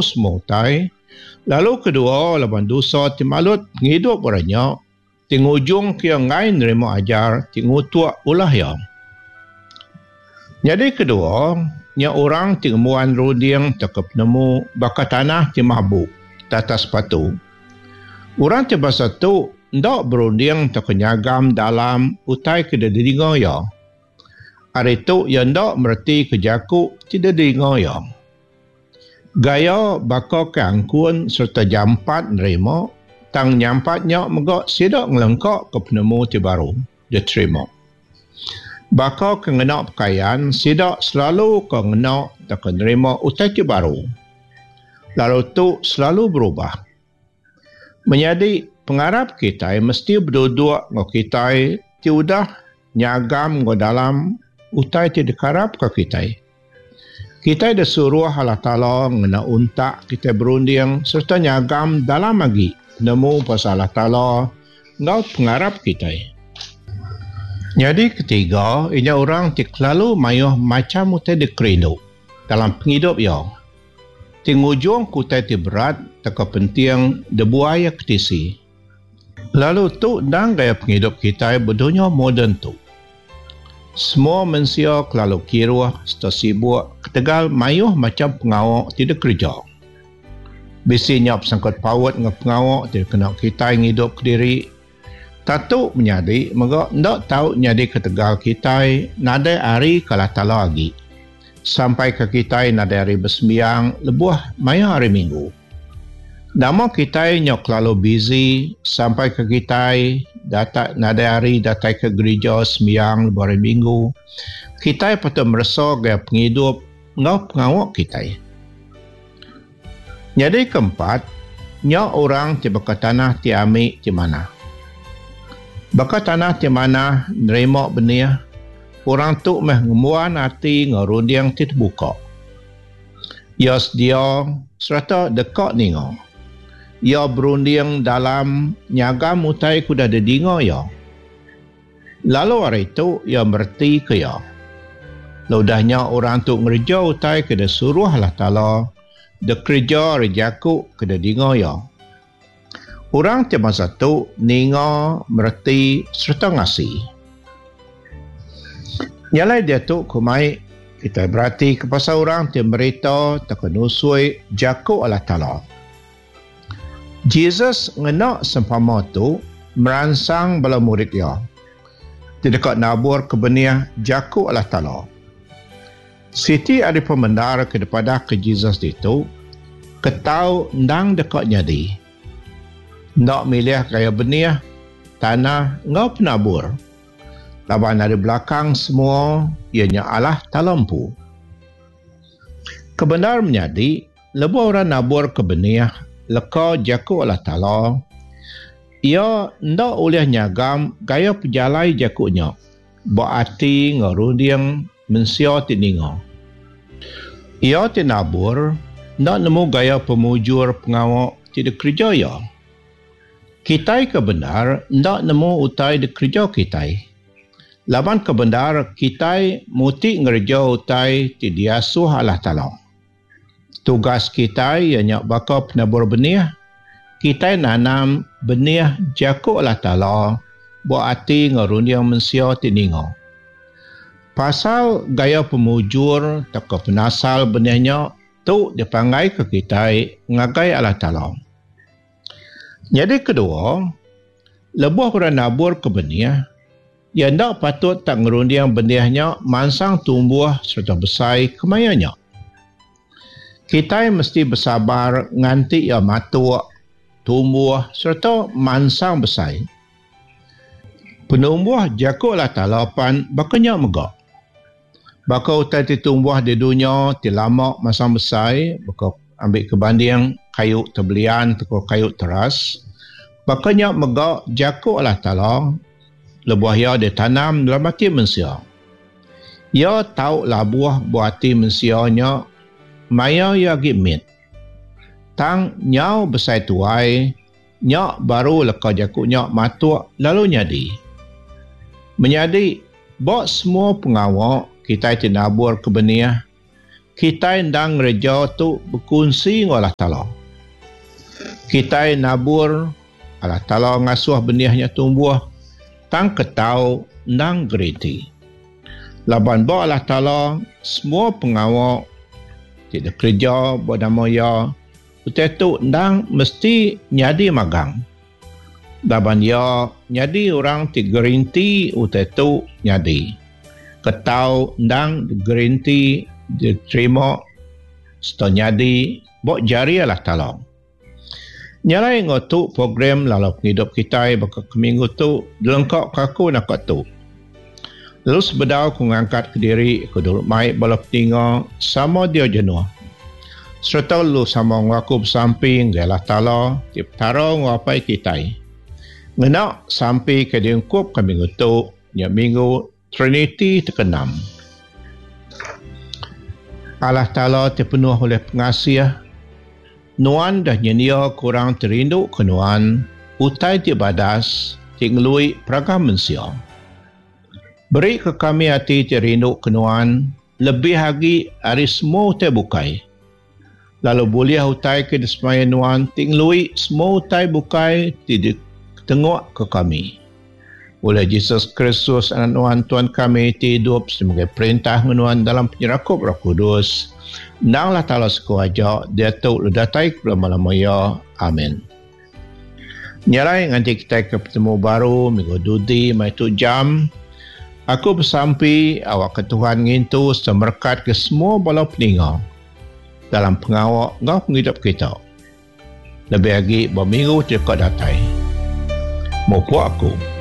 semua utai, lalu kedua laban dosa ti malut pengidup orang nya ti ngujungka iya enggai nerima ajar ti ngutuk ulah iya. Nyadi kedua, nya orang ti ngembuan runding tauka penemu baka tanah ti mabuk tatas batu. Orang ti bansa tu enda berunding tauka nyagam dalam utai ke didinga iya. Ari tu iya enda meretika jaku ti didinga iya. Gaya baka ke angkun sereta jampat nerima tang nyampat nya mega sida ngelengkaka penemu ti baru diterima. Baka ke ngena pekayan sida selalu ke ngena tauka nerima utai ti baru. Lalu tu selalu berubah. Menyadi, pengarap kitai mesti beduduk enggau kitai ti udah nyagam enggau dalam utai ti dikarapka kitai. Kitai disuruh Allah Taala ngena untak kitai berunding sereta nyagam dalam agi penemu pasal Allah Taala enggau pengarap kitai. Nyadi ketiga, inya orang ti kelalu mayuh macham utai dikerindu dalam pengidup iya. Ti ngujungka utai ti berat tauka penting dibuai iya ke tisi. Lalu tu endang gaya pengidup kitai ba dunya moden tu. Semua mensia kelalu kiruh sereta sibuk ketegal mayuh macham pengawa ti dikereja. Bisi nya besangkut paut enggau pengawa ti dikena kitai ngidupka diri. Tatu menyadi mega enda tau nyadi ketegal kitai nadai hari ke Allah Taala agi, sampaika kitai nadai hari besembiang lebuh maya Hari Minggu. Nama kitai nyau kelalu busy sampaika kitai datai nadai hari datai ke gerija sembiang lebuh Hari Minggu, kitai patut meresa gaya pengidup enggau pengawa kitai. Nyadi keempat, nya orang ti baka tanah ti ami ti manah. Baka tanah ti manah nerima benih, orang tu meh ngembuan ati enggau runding ti tebuka. Iya sedia sereta deka ninga. Iya berunding dalam nyagam utai ke udah didinga iya. Lalu ari tu iya meretika iya. Lalu udah nya orang tu ngereja utai ke disuruh Allah Taala dikereja ari jaku ke didinga iya. Orang ti bansa tu ninga, mereti sereta ngasi. Nya alai diatu ku mai kitai beratika pasal orang ti merita tauka nusui jaku Allah Taala. Jesus ngena sempama tu meransang bala murid iya ti deka naburka benih jaku Allah Taala. Siti ari pemendar ke dipadahka Jesus ditu, ketau endang deka nyadi. Enda milih gaya benih, tanah enggau penabur. Laban ari belakang semua iya nya Allah Taala empu. Kebendar menyadi, Lebuh orang naburka benih leka jaku Allah Taala, iya enda ulih nyagam gaya pejalai jaku nya ba ati enggau runding mensia ti ninga. Iya ti nabur enda nemu gaya pemujur pengawa ti dikereja iya. Kitai ke bendar enda nemu utai dikereja kitai. Laban ke bendar kitai muti ngereja utai ti diasuh Allah Taala. Tugas kitai iya nya baka penabur benih, kitai nanam benih jaku Allah Taala ba ati enggau runding mensia ti ninga. Pasal gaya pemujur tauka penasal benih nya tu dipanggaika kitai ngagai Allah Taala. Nyadi kedua, lebuh orang naburka benih, Iya enda patut tak ngerunding benih nya mansang tumbuh sereta besai kemaya nya. Kitai mesti besabar nganti iya matuk, tumbuh sereta mansang besai. Penumbuh jaku Allah Taala pan baka nya mega. Baka utai ti tumbuh di dunya ti lama mansang besai baka ambika banding kayu tebelian tauka kayu teras, baka nya mega jaku Allah Taala lebuh iya ditanam dalam ati mensia. Iya tau labuh ba ati mensia nya maya iya agi mit. Tang nyau besai tuai Nya baru leka jaku nya matuk lalu nyadi. Menyadi, ba semua pengawa kitai ti naburka benih, Kitai endang ngereja tu bekunsi enggau Allah Taala. Kitai nabur, Allah Taala ngasuh benih nya tumbuh, tang ketau endang geriti. Laban ba Allah Taala, semua pengawa ti dikereja ba nama Iya, utai tu endang mesti nyadi magang. Laban iya nyadi orang ti gerinti utai tu nyadi. Ketau endang gerinti diterima sereta nyadi ba jari Allah Taala. Nya alai enggau tu program lalau pengidup kitai baka ke minggu tu dilengka ke aku naka tu. Lalu sebedau ku ngangkat kediri ku dulu mai bala peninga sama dia jenuh. Sereta lalu sama enggau aku besampi ngagai Allah Taala ti Petara enggau Apai kitai. Ngena sampi ke diungkupka minggu tu nya minggu Triniti ti keenam. Allah Taala ti penuh ulih pengasih, Nuan deh nyendiaka orang ti rinduka Nuan utai ti badas ti ngelui peragam mensia. Berika kami ati ti rinduka Nuan lebih agi ari semua utai bukai, lalu bulih utai ke disemaya Nuan ti ngelui semua utai bukai ti ditengukka kami. Ulih Jesus Kristus Anak Nuan Tuan kami ti idup sebagai perintah enggau Nuan dalam penyerakup Roh Kudus, endang Allah Taala siku aja, diatu lalu datai ke belama-lama iya. Amin. Nya alai nganti kitai ke betemu baru minggu dudi maya tu jam, aku besampi awakka Tuhan ngintu sereta merekatka semua bala peninga dalam pengawa enggau pengidup kita. Lebih agi ba minggu ti deka datai. Mupuk aku.